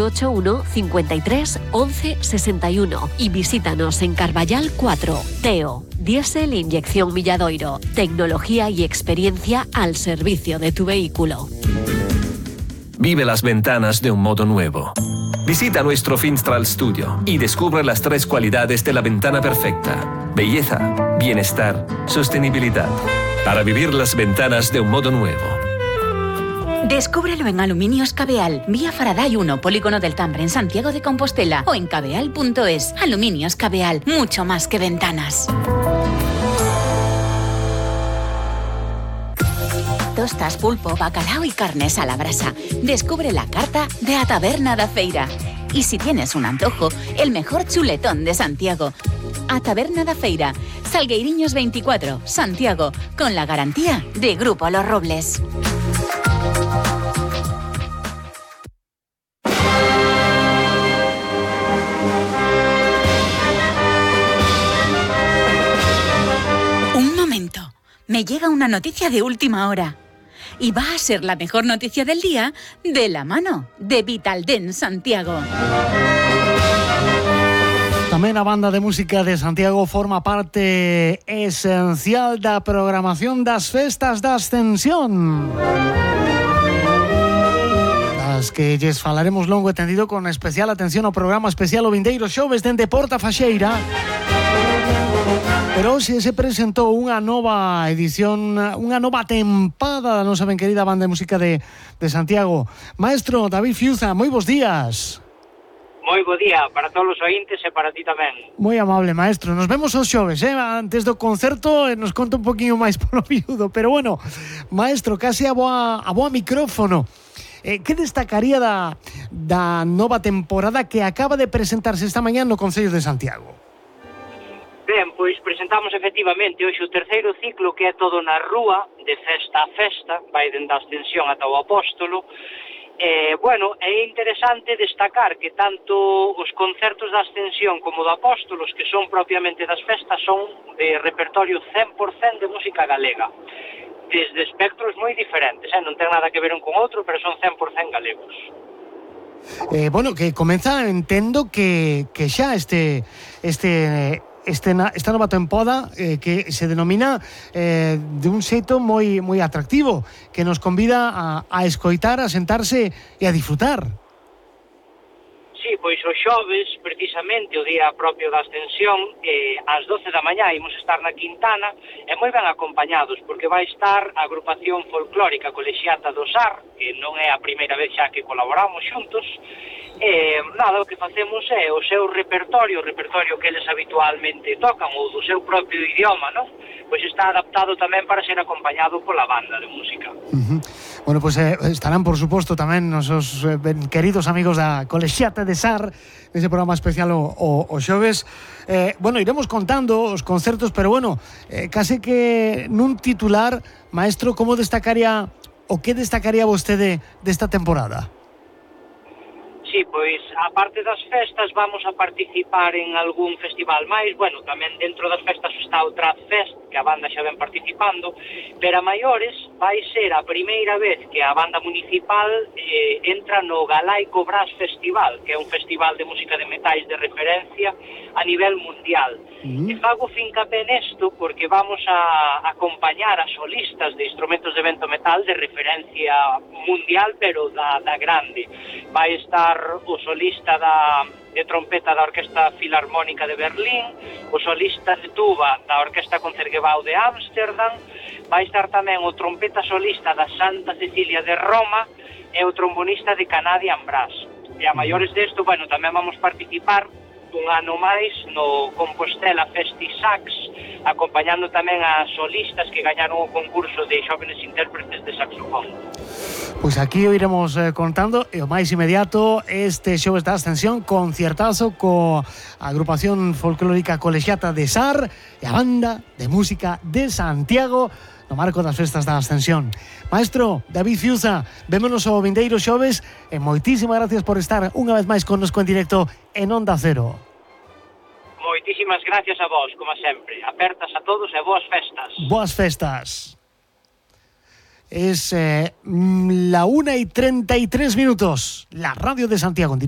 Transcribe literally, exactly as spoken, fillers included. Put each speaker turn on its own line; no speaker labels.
ocho uno, cincuenta y tres, once, sesenta y uno y visítanos en Carballal cuatro. Teo, diésel inyección Milladoiro, tecnología y experiencia al servicio de tu vehículo.
Vive las ventanas de un modo nuevo. Visita nuestro Finstral Studio y descubre las tres cualidades de la ventana perfecta: belleza, bienestar, sostenibilidad. Para vivir las ventanas de un modo nuevo.
Descúbrelo en Aluminios Cabeal, vía Faraday uno, Polígono del Tambre, en Santiago de Compostela, o en cabeal punto es. Aluminios Cabeal, mucho más que ventanas. Tostas, pulpo, bacalao y carnes a la brasa. Descubre la carta de A Taberna da Feira. Y si tienes un antojo, el mejor chuletón de Santiago. A Taberna da Feira, Salgueiriños veinticuatro, Santiago, con la garantía de Grupo Los Robles. Un momento, me llega una noticia de última hora. Y va a ser la mejor noticia del día de la mano de Vitaldent Santiago.
Tamén a banda de música de Santiago forma parte esencial da programación das festas da Ascensión, das que lles falaremos longo e tendido, con especial atención ao programa especial o vindeiro xoves dende Porta Faxeira. Pero hoxe se presentou unha nova edición, unha nova tempada da nosa ben querida banda de música de, de Santiago. Maestro David Fiuza, moi bons días.
Moi bo día para todos os ointes e para ti tamén.
Moi amable, maestro. Nos vemos os xoves, eh? Antes do concerto nos conta un poquinho máis polo viudo. Pero bueno, maestro, case a boa, a boa micrófono. Eh, que destacaría da, da nova temporada que acaba de presentarse esta mañá no Concello de Santiago?
Ben, pois presentamos efectivamente hoxe o terceiro ciclo, que é todo na rúa, de festa a festa, vai dende a Ascensión ata o Apóstolo. Eh, bueno, é interesante destacar que tanto os concertos da Ascensión como do Apóstolos, que son propiamente das festas, son de repertorio cen por cen de música galega, desde espectros moi diferentes, eh? Non ten nada que ver un con outro, pero son cen por cen galegos.
Eh, bueno, que comeza, entendo que, que xa este... este Este, esta nova tempada eh, que se denomina eh, de un xeito moi moi atractivo, que nos convida a, a escoitar, a sentarse e a disfrutar.
Sí, pois o xoves, precisamente o día propio da Ascensión, eh, ás doce da mañá imos estar na Quintana, e moi ben acompañados, porque vai estar a agrupación folclórica Colexiata do Sar, que non é a primeira vez xa que colaboramos xuntos. E nada, o que facemos é o seu repertorio, o repertorio que eles habitualmente tocan, ou do seu propio idioma, non? Pois está adaptado tamén para ser acompañado pola banda de música.
Uh-huh. Bueno, pois pues, eh, estarán, por suposto, tamén nosos eh, ben queridos amigos da Colexiata de Sar, nese programa especial o, o, o xoves. Eh, bueno, iremos contando os concertos, pero bueno, eh, case que nun titular, maestro, como destacaría, o que destacaría vostede desta temporada?
Sí, pois, a parte das festas, vamos a participar en algún festival máis. Bueno, tamén dentro das festas está o Trad Fest, que a banda xa ven participando, pero a maiores vai ser a primeira vez que a banda municipal eh, entra no Galaico Brass Festival, que é un festival de música de metais de referencia a nivel mundial. Mm. E fago fincapé nesto porque vamos a acompañar a solistas de instrumentos de vento metal de referencia mundial, pero da, da grande. Vai estar o solista da, de trompeta da Orquesta Filarmónica de Berlín, o solista de tuba da Orquesta Concertgebouw de Ámsterdam, vai estar tamén o trompeta solista da Santa Cecilia de Roma e o trombonista de Canadian Brass. E a maiores desto, bueno, tamén vamos participar un ano máis no Compostela Festisax, acompañando tamén a solistas que gañaron o concurso de xóvenes intérpretes de saxofón.
Pois aquí o iremos eh, contando, e o máis inmediato este xoves da Ascensión, concertazo co agrupación folclórica Colexiata de Sar e a banda de música de Santiago no marco das festas da Ascensión. Maestro David Fiuza, vémonos o vindeiro xoves e moitísimas gracias por estar unha vez máis connosco en directo en Onda Cero.
Moitísimas gracias a vos, como sempre. Apertas a todos e boas festas.
Boas festas. Es eh, la una y treinta y tres minutos. La radio de Santiago en directo.